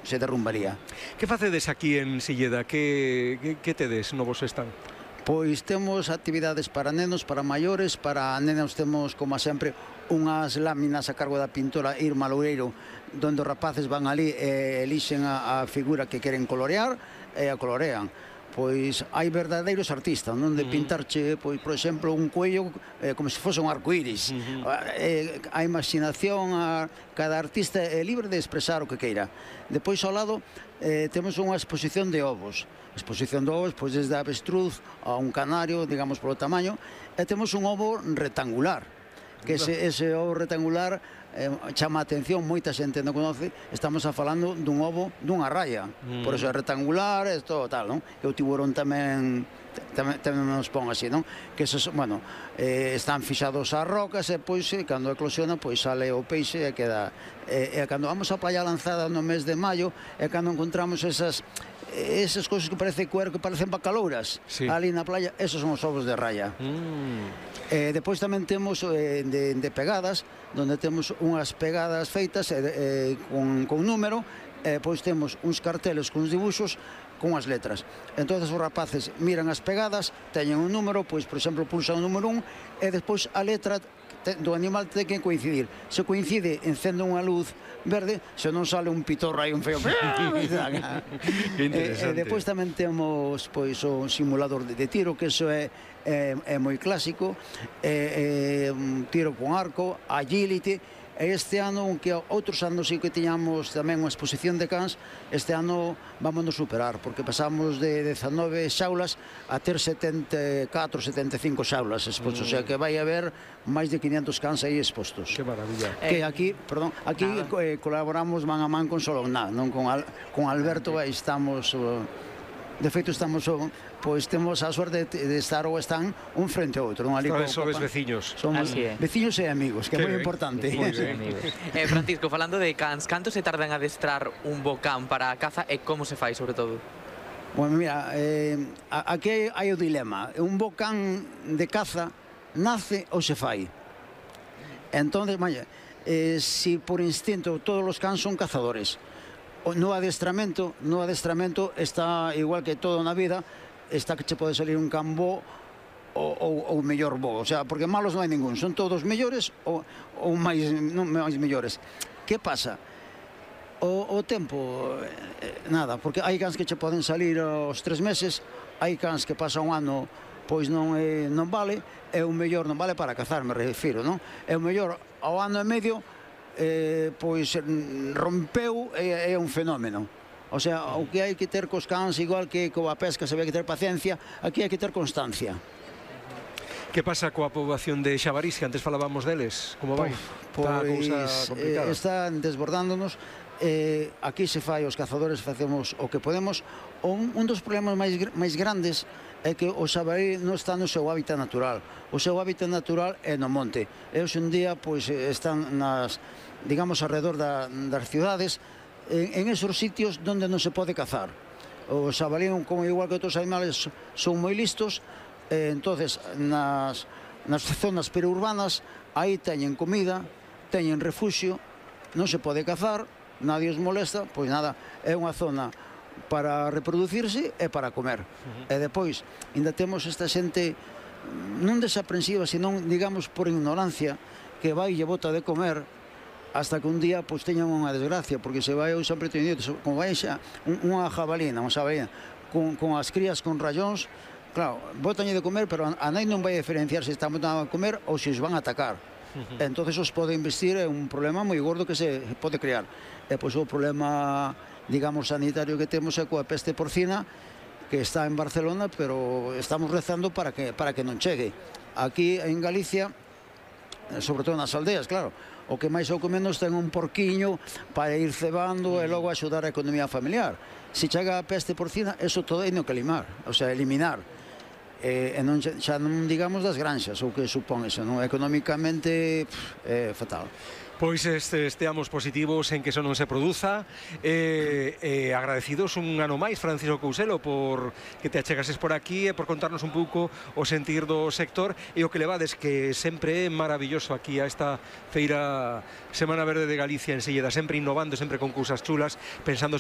se derrumbaría. Que facedes aquí en Silleda? Que tedes no vos están? Pois temos actividades para nenos, para maiores, para nenos temos, como sempre, unhas láminas a cargo da pintora Irma Loureiro, donde os rapaces van ali e elixen a figura que queren colorear e a colorean. Pois hai verdadeiros artistas, non? De pintarche, pois, por exemplo, un cuello como se fose un arcoíris. A imaginación, cada artista é libre de expresar o que queira. Depois, ao lado, temos unha exposición de ovos. A exposición de ovos, pois, desde a avestruz a un canario, digamos, polo tamaño, e temos un ovo rectangular, que ese ovo rectangular chama a atención, moita xente non conoce, estamos falando dun ovo dunha raya, por eso é rectangular, é todo tal, non? Que o tiburón tamén nos pon así, non? Que esos, bueno, están fixados ás rocas e pois, cando eclosiona, pois sale o peixe e queda... E cando vamos á playa lanzada no mes de maio, é cando encontramos esas cousas que parece cuero, que parecen bacalouras, ali na playa, esos son os ovos de raya. Depois tamén temos de pegadas, donde temos unhas pegadas feitas con número, pois temos uns carteles con uns dibuxos con as letras. Entón os rapaces miran as pegadas, teñen un número, pois por exemplo pulsan o número 1 e despois a letra do animal ten que coincidir. Se coincide, encende unha luz verde, se non sale un pitorro aí un feo. Depois tamén temos pois o simulador de tiro, que iso é moi clásico, tiro con arco, agility. E este ano, que outros anos sí que tiñamos tamén unha exposición de cans, este ano vámonos superar, porque pasamos de 19 xaulas a ter 74, 75 xaulas expostos, o sea que vai haber máis de 500 cans aí expostos. Que maravilla. Que aquí colaboramos man a man con Sologná, non con Alberto, aí estamos... De feito, estamos, pois, temos a suerte de estar ou están un frente ao outro. Sodes veciños. Somos veciños e amigos, que é moi importante. Francisco, falando de cans, canto se tarda en adestrar un bo can para a caza e como se fai, sobre todo? Bueno, mira, aquí hai o dilema. Un bo can de caza nace ou se fai. Entón, se por instinto todos os cans son cazadores, no adestramento está igual que todo na vida, está que che pode salir un can bo ou mellor bo, o sea, porque malos non hai ningún, son todos mellores ou máis mellores. Que pasa? O tempo, nada, porque hai cans que che poden salir aos 3 meses, hai cans que pasa un ano, pois non vale, e o mellor non vale para cazar, me refiro, non? E o mellor ao ano e medio pois rompeu, é un fenómeno. O sea, o que hai que ter cos cans, igual que coa pesca se ve que ter paciencia, aquí hai que ter constancia. Que pasa coa poboación de xabarís, que antes falábamos deles? Como vai? Pois están desbordándonos. Aquí se fai, os cazadores facemos o que podemos. Un dos problemas máis grandes é que o xabarí non está no seu hábitat natural. O seu hábitat natural é no monte. E hoxe en día están digamos, alrededor das cidades, en esos sitios onde non se pode cazar. O xabalí, como igual que outros animales, son moi listos, entonces nas zonas periurbanas aí teñen comida, teñen refuxio, non se pode cazar, nadie os molesta, pois nada, é unha zona para reproducirse e para comer. E depois, ainda temos esta xente non desaprensiva, senón, digamos, por ignorancia, que vai e bota de comer hasta que un día pois teñan unha desgracia, porque se vai, eu sempre teño dito, como vai xa unha jabalina, con as crías con rayóns, claro, botañe de comer, pero a nai non vai diferenciar se están botando a comer ou se os van a atacar. Entonces os pode investir en un problema moi gordo que se pode crear. E pois o problema, digamos, sanitario que temos é coa peste porcina, que está en Barcelona, pero estamos rezando para que non chegue. Aquí en Galicia, sobre todo nas aldeas, claro, o que máis ou que menos ten un porquiño para ir cebando e logo axudar a economía familiar. Se chega a peste porcina, eso todo hai que limar, o sea, eliminar. E xa non digamos das granxas, o que supón eso, non? Económicamente é fatal. Pois esteamos positivos en que eso non se produza, agradecidos un ano máis, Francisco Couselo, por que te achegases por aquí e por contarnos un pouco o sentir do sector e o que levades, que sempre é maravilloso aquí a esta feira Semana Verde de Galicia en Silleda, sempre innovando, sempre con cousas chulas, pensando